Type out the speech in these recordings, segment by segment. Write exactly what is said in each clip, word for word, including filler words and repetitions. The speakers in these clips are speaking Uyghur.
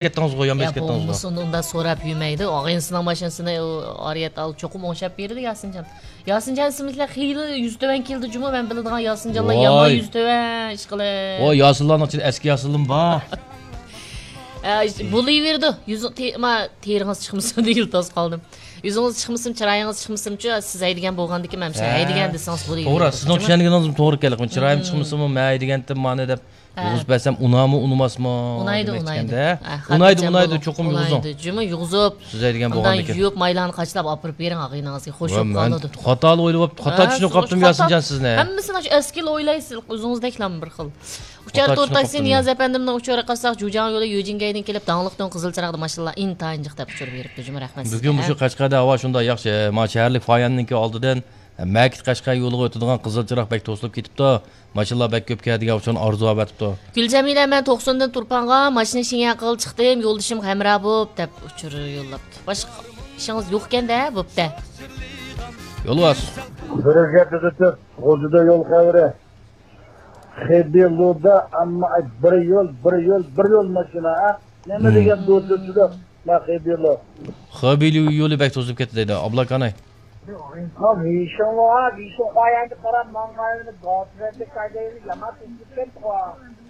كەتتىڭىزغۇ، يان يا بېسىپ كەتتىڭىزغۇ. بولمىسۇنى ئۇنداق سوراپ يۈرمەيدۇ. ئاغىنىسىنىڭ ماشىنىسىنى ئۇ ئارىيەت ئال چوقۇم ئوڭشاپ بېرىدۇ ياسىنجان. ياسىنجان ئىسىملىكلەر خېلى يۈزى تۆۋەن كېلىدۇ جۇمۇ، مەن بىلىدىغان ياسىنجانلار يامان ۋاي. يۈزى تۆۋەن ئىشقىلىپ. ۋاي، ياسىنلارنىڭ ئىچىدە ئەسكى ياسىنلىمۇ بار. ئە، بولۇۋېرىدۇ. يۈزۈڭ، تې-، ما، تېرىڭىز چىقمىسۇن دېگىلى توس قالدىم. يۈزىڭىز چىقمىسۇن، چىرايىڭىز چىقمىسۇنچۇ، سىز ھەيدىگەن بولغاندىكىن مەن ھە. ھەيدىگەن دېسىڭىز بولىۋېرىدۇ. توغرا، سىزنىڭ چۈشەنگىنىڭىزمۇ توغرا ئىكەن. لېكىن چىرايىم چىقمىسىمۇ، مەن ھەيدىگەنتىم مانا دەپ ھە. يۈز بەرسەم ئۇنامۇ ئۇنىماسمۇ؟ ئۇنايدۇ، دېمەكچىكەندە. ھە، ئۇنايدۇ، ئۇنايدۇ، چوقۇم يۇغۇزۇڭ. ئۇنايدۇ، جۇمۇ يۇغۇزۇپ، سىز ھەيدىگەن ئاندىن بولغاندىكىن. يۇيۇپ، مايلارنى قاچىلاپ ئاپىرىپ بېرىڭ، ئاغىنىڭىزگە خوش بولۇپ قالىدۇ. خاتالىق ئويلاپ، خاتا ھە، چۈشىنىپ قاپتىم خاتا. ياسىنجان سىزنى. ھەممىسىنى ئەسكىلا ئويلايسىز، ئۆزىڭىزدەكلا بىر خىل. ئۇچار خاتا تور چۈشىنىپ تاكسى قاپتىم نىياز ئەپەندىمنىڭ ئۇچۇرىغا قارىساق، جۇجياڭيولى يۈجىنگەيدىن كېلىپ، داڭلىق دۆڭ قىزىل چىراغدا ماشىنىلار ئىنتايىن جىق دەپ ئۇچۇر بېرىپتۇ، جۇمۇ رەھمەت سىزگە. بۈگۈن مۇشۇ قەشقەردە ھاۋا شۇنداق ياخشى. ما شەھەرلىك فاياننىڭكى ئالدىدىن مەكىت قەشقەر يولىغا ئۆتىدىغان قىزىل چىراغ بەك توسۇلۇپ كېتىپتۇ. ماشىنىلار بەك كۆپ كەلدى دېگەن ئۇچۇرنى ئارزۇ ئەۋەتىپتۇ. گۈلجەمىلە، مەن توقسۇندىن تۇرپانغا ماشىنا شىڭياڭ قىلغىلى چىقتىم، يولدىشىمغا ھەمراھ بوپ دەپ ئۇچۇر يوللاپتۇ. باشقا ئىشىڭىز يوقكەندە، بوپتە. يولۋاس. بىر گەپنى تۇتۇپ، غۇلجىدا يول خەۋىرى. خېبېلۇدا ئەمما بىر يول، بىر يول، بىر يول ماشىنا، ھە؟ نېمە دېگەن دوتۇرچىلىق، ما خېبېلۇ. خېبېلۇ يولى بەك توسۇلۇپ كەتتى دەيدۇ، ئابلاكاناي.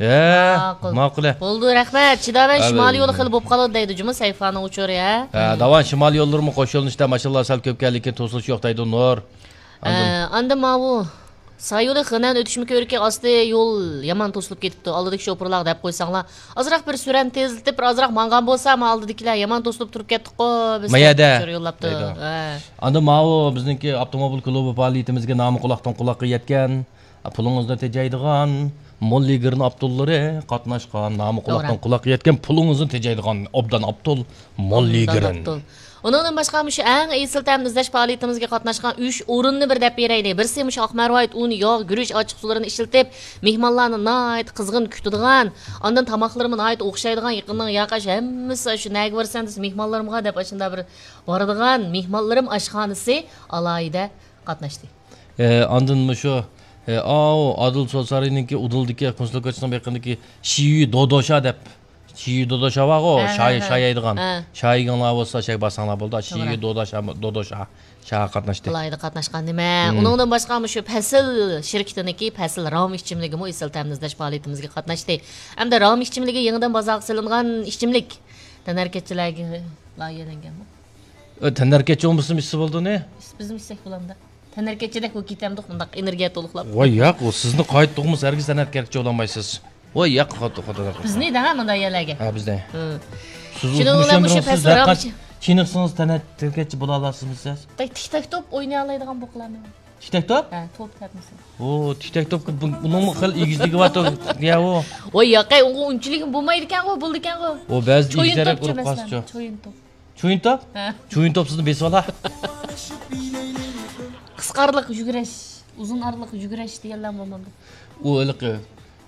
ھە، ماقۇل. بولدى، رەھمەت. چىداۋەن، ھە، شىمالىي يولى خېلى بولۇپ قالىدۇ دەيدۇ جۇمۇ سەيفانىڭ ئۇچۇرى، ھە؟ ھە، داۋان شىمالىي يوللىرىمۇ قوش يۆنىلىشتە ماشىنىلار سەل كۆپ كەلدىكىن توسۇلۇش يوق دەيدۇ نۇر. ئاندىن ئاندىن ماۋۇ سايولى خېنەن ئۆتۈشمە كۆۋرۈكى ئاستى يول يامان توسۇلۇپ كېتىپتۇ. ئالدىدىكى شوپۇرلارغا دەپ قويساڭلار، ئازراق بىر سۈرئەتنى تېزلىتىپ، بىر ئازراق ماڭغان بولسا، ما ئالدىدىكىلەر يامان توسۇلۇپ تۇرۇپ كەتتۇققۇ، بىز ما يەردە دەپ ئۇچۇر يوللاپتۇ. دەيدۇ. ھە. ئاندىن ماۋۇ بىزنىڭكى ئاپتوموبىل كۇلۇبى پائالىيىتىمىزگە نامى قۇلاقتىن قۇلاققا يەتكەن، پۇلىڭىزنى تېجەيدىغان مول لېگىرنىڭ ئاپتورلىرى قاتناشقان، نامى قۇلاقتىن توغرا. قۇلاققا يەتكەن، پۇلىڭىزنى تېجەيدىغان ئوبدان ئاپتور مول لېگىرىن. ئۇنىڭدىن باشقا، مۇشۇ ئەڭ ئېسىل تەمنى ئىزدەش پائالىيىتىمىزگە قاتناشقان ئۈچ ئورۇننى بىر دەپ بېرەيلى. بىرسى مۇشۇ ئاق مەرۋايىت ئۇن، ياغ، گۈرۈچ، ئاچچىق سۇلىرىنى ئىشلىتىپ، مېھمانلارنى ناھايىتى قىزغىن كۈتىدىغان، ئاندىن تاماقلىرىمۇ ناھايىتى ئوخشايدىغان، يېقىننىڭ ياقاش ھەممىسى شۇ نەگە بارسام دېسە مېھمانلىرىمغا دەپ ئاشۇنداق بىر بارىدىغان مېھمانلىرىم ئاشخانىسى ئالاھىدە قاتناشتى. ئە، ئاندىن مۇشۇ، ئە، ئاۋۇ ئادىل سوت سارىيىنىڭكى ئۇدۇلدىكى كونسۇل كوچىسىنىڭ بېقىنىدىكى شىيۈ دودوشا دەپ، شىيۈ دودوشا بارغۇ، ھە، شاي، ھە، ھە. شاي يەيدىغان. ھە. شاي يېگەڭلار بولسا، شاي بارساڭلار بولىدۇ. شىيۈ توغرا. دودوشا، دودوشا، شاڭا قاتناشتى. ئالاھىدە قاتناشقان نېمە؟ مم. ئۇنىڭدىن باشقا مۇشۇ پەسىل شىركىتىنىڭكى پەسىل رام ئىچىملىكىمۇ ئېسىل تەمنى ئىزدەش پائالىيىتىمىزگە قاتناشتى. ھەمدە رام ئىچىملىكى يېڭىدىن بازارغا سېلىنغان ئىچىملىك. تەنھەرىكەتچىلەرگە لايىھەلەنگەنمۇ؟ ئۆ، تەنھەرىكەتچى بولمىسىمۇ ئىچسە بولىدۇ نى؟ بىزمۇ ئىچسەك بولامدۇ؟ تەنھەرىكەتچىدەك بولۇپ كېتەمدۇق، مۇنداق ئېنېرگىيە تولۇقلاپ. ۋاي ياق، ئۇ سىزنى قايتتۇقمۇ، ھەرگىز تەنھەرىكەتچى بولالمايسىز. ۋاي ياق، خوتۇ، خوتۇ، خوتۇ. بىزنى دەڭە مۇنداق يەرلەرگە. ھە، بىزنى. ھە. سىز شۇنىڭ بىلەن مۇشۇ پەسىل رام چېنىقسىڭىز تەنھەرىكەتچى بولالامسىز سىز؟ تىك تاك توپ ئوينىيالايدىغان بولغانمۇ؟ تىك تاك توپ؟ ھە، توپ دەپمىسىز. ئۇ تىك تاك توپ، بۇ، ئۇنىڭمۇ خېلى ئېگىزلىكى بار، يا ئۇ. ۋاي ياقەي، ئۇنىڭغا ئۇنچىلىك بولمايدىكەنغۇ، بولىدىكەنغۇ. ئۇ بەزى ئېگىز تەرەپ ئۇرۇپ قالسىچۇ. چويۇن توپ. چويۇن توپ؟ ھە. چويۇن توپ سىزنى بېسىۋالا. قىسقا ئارىلىق يۈگۈرۈش، ئۇزۇن ئارىلىق يۈگۈرۈش دېگەنلەر بولمامدۇ؟ ئۇ ھېلىقى،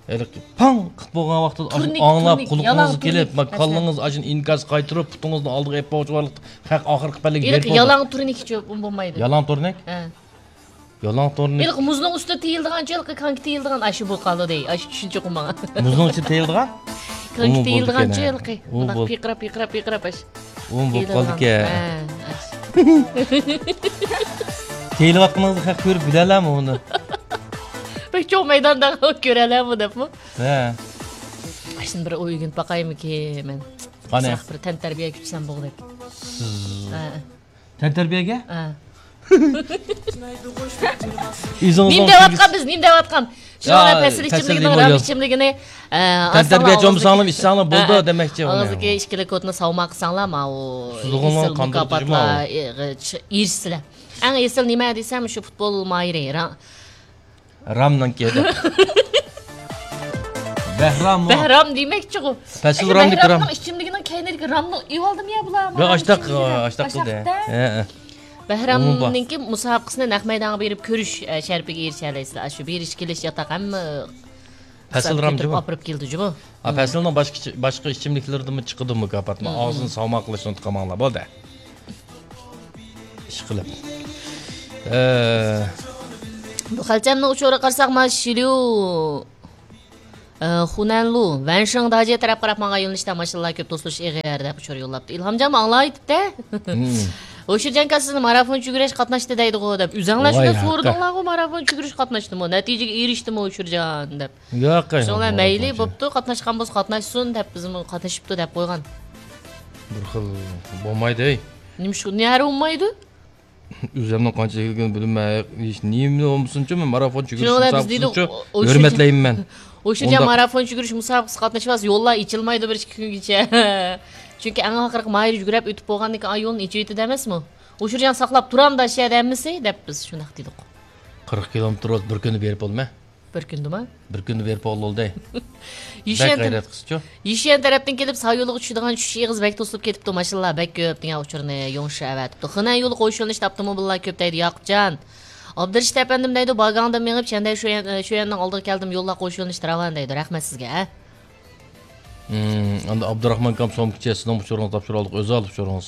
ھېلىقى پاڭ قىلىپ بولغان ۋاقتىدا ئاشۇ تۇرنىك، ئاڭلاپ تۇرنىك، قۇلىقىڭىزغا كېلىپ، يالاڭ تۇرنىك، كاللىڭىز ئاشۇنى ئىنكاس قايتۇرۇپ، پۇتىڭىزنى ئالدىغا ئېلىپ بارغۇچە بارلىق خەق ئاخىرقى پەللىگە بېرىپ بولىدۇ. يالاڭ تۇرنىكچۇ بولمايدۇ. يالاڭ تۇرنىك؟ ھە. يالاڭ تورنىك. ھېلىقى مۇزنىڭ ئۈستىدە تېيىلىدىغانچۇ، ھېلىقى كانكا تېيىلىدىغان ئاشۇ بولۇپ قالدى. ئاشۇ چۈشىنچە ئوقۇماڭ. مۇزنىڭ ئىچىدە تېيىلىدىغان؟ كانكا تېيىلىدىغانچۇ، ھېلىقى. ئۇ مۇنداق بول-، پىقىراپ، پىقىراپ، پىقىراپ ئاشۇ. ئۇ بولۇپ قالدىكەن. ھە، ئاشۇ. تېيىلىۋاتقىنىڭىزنى خەق كۆرۈپ بىلەلەرمۇ ئۇنى؟ بەك چوڭ مەيداندا كۆرەلەرمۇ دەپمۇ؟ ھە. ئاشۇنى بىر ئۆگىنىپ باقايمىكىن مەن. قانى؟ بىر تەنتەربىيە كۈتسەم بولغۇدەك. ھە. تەنتەربىيەگە؟ ھە. نېمە دەۋاتقان بىز، نېمە دەۋاتقان؟ شۇنىڭ بىلەن پەسىل ئىچىملىكىنىڭ، رام ئىچىملىكىنى، ئە، تەنتەربىيەچى بولمىساڭلار ئىچسەڭلار بولدى دېمەكچى. ئاغزىدىكى ئىككىلى كوتنى ساۋماق قىلساڭلار، ماۋۇ ئېسىل مۇكاپاتلار ئېرىشىسىلەر. ئەڭ ئېسىل نېمە دېسەم، شۇ پۇتبول ماھىرى، رام. رامنىڭكى دەپ. بەھراممۇ؟ بەھرام دېمەكچىغۇ. پەسىل رامدىكى رام. بەھرامنىڭ ئىچىملىكىنىڭ كەينىدىكى رامنى ئېۋالدىمۇ يا بۇلار؟ ياق، ئاشتاق، ئاشتاق قىلدى. ھە، ھە. بەھرامنىڭكى مۇسابىقىسىنى نەق مەيدانغا بېرىپ كۆرۈش، ئە، شەرىپىگە ئېرىشەلەيسىلەر. شۇ بېرىش كېلىش ياتاق ھەممە پەسىل رام جۇمۇ. ئاپىرىپ كېلىدۇ جۇمۇ. ھە، پەسىلنىڭ باشقا، باشقا ئىچىملىكلىرىدىمۇ چىقىدۇ مۇكاپاتمۇ. ئاغزىنى ساۋماق قىلىشنى ئۇنتۇپ قالماڭلار، بولدى. ئىشقىلىپ. ئە. بۇ خەلچەمنىڭ ئۇچۇرىغا قارىساق، ما شىليۇ. ئە، خۇنەنلۇ، ۋەنشېڭ داجيې تەرەپ قاراپ ماڭغان يۆنىلىشتە ماشىنىلار كۆپ توسۇلۇش ئېغىر دەپ ئۇچۇر يوللاپتۇ. ئىلھامجانمۇ ئاڭلاۋېتىپتۇ. ھوشۇرجان كاسىنى مارافون چۈگۈرۈش قاتناشتى دەيدىغۇ دەپ. ئۆزەڭلار شۇنداق سورىدىڭلارغۇ، مارافون چۈگۈرۈش قاتناشتىمۇ، نەتىجىگە ئېرىشتىمۇ ئۇچۇرجان دەپ. ياق، شۇڭا مەيلى بوپتۇ، قاتناشقان بولسا قاتناشسۇن دەپ بىزمۇ قاتنىشىپتۇ دەپ قويغان. بىر خىل بولمايدۇ، ھەي. نېمىشقا، نەرى بولمايدۇ؟ ئۆزۈمنىڭ قانچە يىللىقىنى بىلمەي، ھېچ نېمە بولمىسۇنچۇ، مەن مارافون چۈگۈرۈش مۇسابىقىسىنچۇ ھۆرمەتلەيمەن مەن. ئۇشۇرجان مارافون چۈگۈرۈش مۇسابىقىسىگە قاتنىشىۋالسا، يوللار ئېچىلمايدۇ بىر ئىككى كۈنگىچە. چۈنكى ئەڭ ئاخىرقى ماھىر يۈگۈرۈپ ئۆتۈپ بولغاندىن كېيىن، ئا، يولنى ئېچىۋېتىدۇ ئەمەسمۇ؟ ئۇشۇرجان ساقلاپ تۇرامدا شۇ يەردە ھەممىسى دەپ بىز شۇنداق دېدۇق. قىرىق كىلومېتىر بولسا بىر كۈندە بېرىپ بولىمەن. بىر كۈندىمۇ؟ بىر كۈندە بېرىپ بولدى. بەك غەيرەت قىلسىچۇ. يۈشيەن تەرەپتىن كېلىپ سايولىغا چۈشىدىغان چۈشۈش ئېغىزى بەك توسۇلۇپ كېتىپتۇ، ماشىنىلار بەك كۆپ دېگەن ئۇچۇرنى يوڭشى ئەۋەتىپتۇ. خېنەن يولى قوش يۆنىلىشتە ئاپتوموبىللار كۆپ دەيدۇ ياقۇپجان. ئابدۇرېشىت ئەپەندىم دەيدۇ، باگاڭدىن مېڭىپ شەندەي شۇيەن، شۇيەننىڭ ئالدىغا كەلدىم، يوللار قوش يۆنىلىشتە راۋان دەيدۇ. رەھمەت سىزگە، ھە. ئەمدى ئابدۇراخمان كام سومكىچى سىزنىڭ ئۇچۇرىڭىزنى تاپشۇرالدۇق، ئۆزى ئالدى ئۇچۇرىڭىز.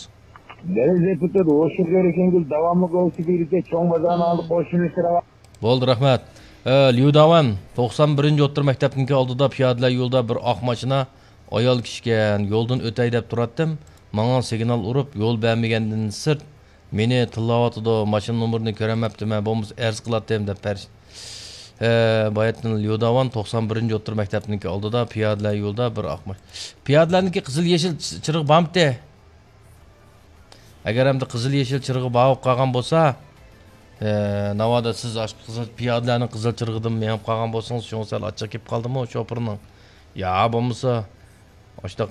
دەل دېپۇتات ھوشۇر كۆرۈشۈڭگۈل داۋاملىق ۋېلىسىپىتكە چوڭ بازارنىڭ ئالدىغا قوشۇلۇشى راۋان. بولدى، رەھمەت. ئە، ليۇداۋەن، توقسان بىرىنچى ئوتتۇرا مەكتەپنىڭكى ئالدىدا پىيادىلەر يولىدا بىر ئاق ماشىنا ئايال كىشىكەن، يولدىن ئۆتەي دەپ تۇراتتىم. ماڭا سىگنال ئۇرۇپ، يول بەرمىگەندىن سىرت، مېنى تىللاۋاتىدۇ، ماشىنا نومۇرىنى كۆرەلمەپتىمەن، بولمىسا ئەرز قىلاتتىم دەپ پەرىش-، ئە، باياتتىن ليۇداۋەن، توقسان بىرىنچى ئوتتۇرا مەكتەپنىڭكى ئالدىدا پىيادىلەر يولىدا بىر ئاق ماشىنا. پىيادىلەرنىڭكى قىزىل يېشىل چىرىغى بارمىتى؟ ئەگەر ئەمدى قىزىل يېشىل چىرىغى بار بولۇپ قالغان بولسا، ئە، ناۋادا سىز ئاشۇ قىزىل، پىيادىلەرنىڭ قىزىل چىرىغىدىن مېڭىپ قالغان بولسىڭىز، شۇڭا سەل ئاچچىق كېلىپ قالدىمۇ شوپۇرنىڭ؟ يا بولمىسا، ئاشۇنداق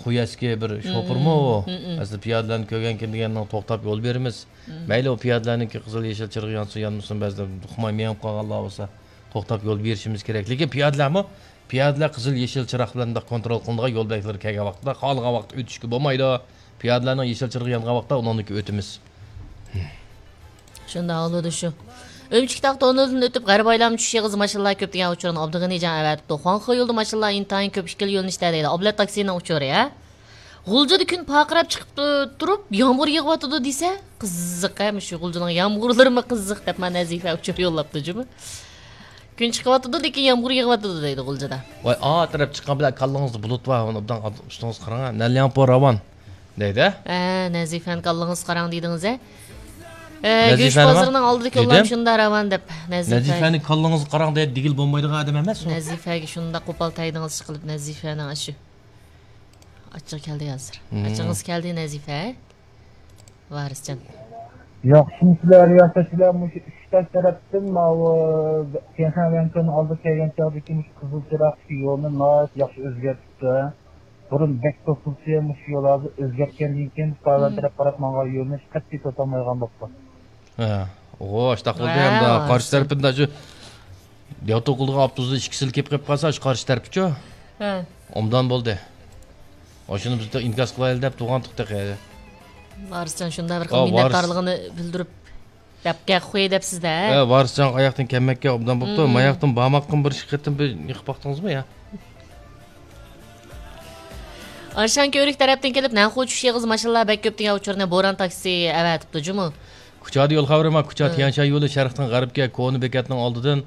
خۇيەسكى بىر شوپۇرمۇ ئۇ؟ ئەسلى پىيادىلەرنى كۆرگەنكىن دېگەننىڭ توختاپ يول بېرىمىز. مەيلى، ئۇ پىيادىلەرنىڭكى قىزىل يېشىل چىرىغى يانسۇن يانمىسۇن، بەزىدە ئۇقماي مېڭىپ قالغانلار بولسا، توختاپ يول بېرىشىمىز كېرەك. لېكىن پىيادىلەرمۇ پىيادىلەر قىزىل يېشىل چىراغ بىلەن مۇنداق كونترول قىلىنىدىغان يول بەلگىلىرى كەلگەن ۋاقىتتا، خالىغان ۋاقىتتا ئۆتۈشكە بولمايدۇ. پىيادىلەرنىڭ يېشىل چىرىغى يانغان ۋاقىتتا ئۇنىڭدىكى ئۆتىمىز. شۇنداق بولىدۇ شۇ. ئۈمچىك تاغ توننېلىدىن ئۆتۈپ، غەربىي ئايلانما چۈشۈش ئېغىزى ماشىنىلار كۆپ دېگەن ئۇچۇرنى ئابدۇغېنىجان ئەۋەتىپتۇ. خۇاڭخې يولىدا ماشىنىلار ئىنتايىن كۆپ، ئىككىلا يۆنىلىشتە دەيدۇ. ئابلەت تاكسىنىڭ ئۇچۇرى، ھە؟ غۇلجىدا كۈن پارقىراپ چىقىپ تۇ-، تۇرۇپ، يامغۇر يېغىۋاتىدۇ دېسە، قىزىق، ھە، مۇشۇ غۇلجىنىڭ يامغۇرلىرىمۇ قىزىق دەپ، مانا نەزىپە ئۇچۇر يوللاپتۇ جۇمۇ. كۈن چىقىۋاتىدۇ، لېكىن يامغۇر يېغىۋاتىدۇ دەيدۇ غۇلجىدا. ۋاي، ئا تەرەپ چىققان بىلەن كاللىڭىزدا بۇلۇت بار، ئۇنى ئوبدان ئۈستىڭىزگە قاراڭ، نەنلياڭپو راۋان دەيدۇ. ھە، نەزىپەنى كاللىڭىزغا قاراڭ دېدىڭىز، ھە. ئە، گۆش بازىرىنىڭ ئالدىدىكى ئۇلام شۇنداق راۋان دەپ، نەزىپە. نەزىپەنى كاللىڭىزغا قاراڭ دەيدۇ، دېگىلى بولمايدىغان ئادەم ئەمەس ئۇ. نەزىپەگە شۇنداق قوپال تەگدىڭىز ئىشقىلىپ، نەزىپەنىڭ ئاشۇ ئاچچىقى كەلدى ھازىر. ئاچچىقىڭىز كەلدى، نەزىپە. ۋارىسجان. ياخشىمۇسىلەر رىياسەتچىلەر؟ مۇشۇ ئۈچ تاش تەرەپتىن ماۋۇ تيەنشان ۋەنكۆنىڭ ئالدىغا كەلگەن چاغدىكى مۇشۇ قىزىل چىراغ يولنى ناھايىتى ياخشى ئۆزگەرتىپتۇ. بۇرۇن بەك توسۇلسا، مۇشۇ يول ھازىر ئۆزگەرتكەندىن كېيىن، ساۋەن تەرەپ قاراپ ماڭغان يولنى قەتئىي توسالمايدىغان بوپتۇ. ھە، ئۇ ئاشتاق بولدى ھە، ئەمدى قارشى تەرىپىدە شۇ دياۋتۇ قىلىدىغان ئاپتوبۇستا ئىككى سىل كېلىپ قېلىپ قالسا، شۇ قارشى تەرىپىچۇ؟ ھە. ئوبدان بولدى. ئاشۇنى بىز ئىنكاس قىلايلى دەپ تۇرغانتۇق تېخى. ۋارىسجان شۇنداق بىر خىل مىننەتدارلىقىنى بىلدۈرۈپ، دەپ گەپ قوي دەپسىز-دە. ھە، ۋارىسجان ئاياقتىن كەلمەككە ئوبدان بوپتۇ. ماياقتىن بارماققىمۇ بىر ئىككى قېتىم بىر يېقىپ باقتىڭىزمۇ يا؟ ئارشان كۆۋرۈك تەرەپتىن كېلىپ، نەنخۇ چۈشۈش ئېغىزى ماشىنىلار بەك كۆپ دېگەن ئۇچۇرنى بوران تاكسى ئەۋەتىپتۇ جۇمۇ. كۇچادا يول خەۋىرى بار. كۇچا تيەنشان يولى شەرقتىن غەربكە كونا بېكەتنىڭ ئالدىدىن،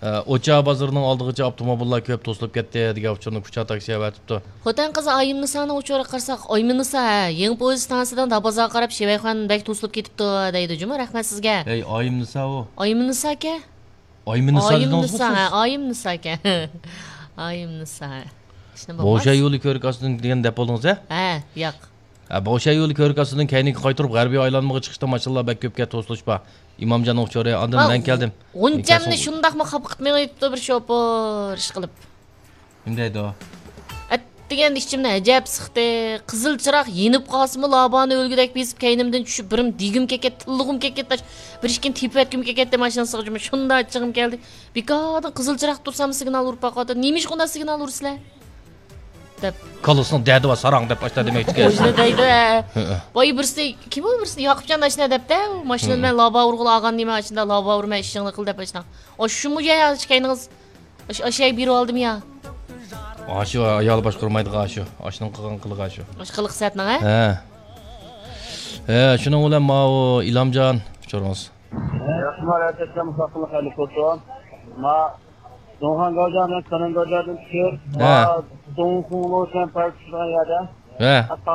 ئە، ئوچا بازىرىنىڭ ئالدىغىچە ئاپتوموبىللار كۆپ توسۇلۇپ كەتتى دېگەن ئۇچۇرنى كۇچا تاكسى ئەۋەتىپتۇ. خوتەن قىزى ئايىمنىسانىڭ ئۇچۇرىغا قارىساق، ئايمىنىسا، ھە، يېڭى پويىز ئىستانسىسىدىن دابازارغا قاراپ شىۋەيخۇەن بەك توسۇلۇپ كېتىپتۇ دەيدۇ جۇمۇ. رەھمەت سىزگە. ئەي، ئايىمنىسا ئۇ. ئايمىنىساكەن. ئايمىنىسا دېدىڭىزمۇ سىز؟ ھە، ئايىمنىساكەن. ئايىمنىسا. بوشا يولى كۆرۈك ئاستىدىن دېگەن دەپ بولدىڭىز ھە؟ ھە، ياق. ھە، بوشا يولى كۆرۈك ئاستىدىن كەينىگە قايتۇرۇپ، غەربىي ئايلانمىغا چىقىشتا ماشىنىلار بەك كۆپكەن، توسۇلۇش بار. ئىمامجاننىڭ ئۇچۇرى، ئاندىن مەن كەلدىم. غۇنچەمنى شۇنداقمۇ خاپا قىلىپ مېڭىۋېتىپتۇ بىر شوپۇر، ئىشقىلىپ. نېمە دەيدۇ؟ ئەتىگەندە ئىچىمنى ئەجەب سىقتى. قىزىل چىراغ يېنىپ قالسىمۇ، لابانى ئۆلگۈدەك بېسىپ، كەينىمدىن چۈشۈپ، بىرىم دېگۈم كېلىپ كەتتى، تىللىغۇم كېلىپ كەتتى، بىر ئىككىنى تېپىۋەتكۈم كېلىپ كەتتى ماشىنىسىغا. شۇنداق ئاچچىقىم كەلدى. بىكاردىن قىزىل چىراغ تۇرسام سىگنال ئۇرۇپ باقىۋاتىدۇ. نېمىشقا ئۇنداق سىگنال ئۇرىسىلەر؟ دەپ. كاللىسىنىڭ دەردى بار ساراڭ دەپ ئاشۇنداق دېمەكچىكەن. ئاشۇنداق دەيدۇ، ھە. ھە، ھە. ۋاي بىرسى، كىم ئۇ بىرسى؟ ياقۇپجان ئاشۇنداق دەپتە، ئۇ ماشىنا بىلەن لابا ئۇرغىلى ئالغان نېمە، ئاشۇنداق لابا ئۇرمەي ئىشىڭنى قىل دەپ ئاشۇنداق. ئاشۇمۇ يا، يا، ئىككىيىڭلار ئاشۇ، ئاشۇ بىر ئالدىم يا. ئاشۇ ئايالى باشقۇرمايدىغان ئاشۇ. ئاشۇنىڭ قىلغان قىلىقى ئاشۇ. ئاشۇ قىلىق سەتنىڭ، ھە؟ ھە. ھە، شۇنىڭ بىلەن ماۋۇ ئىلھامجان ئۇچۇرىڭىز. ياخشىما، رەھمەت، مۇساپىرلىق خەيرلىك بولسۇن. ما، دۇڭخەن گاۋجياڭ بىلەن كېنەن گاۋجياڭدىن چۈشۈپ، ھە. دۇڭخۇڭلۇ دېگەن پارك چۈشىدىغان يەردە. ھە.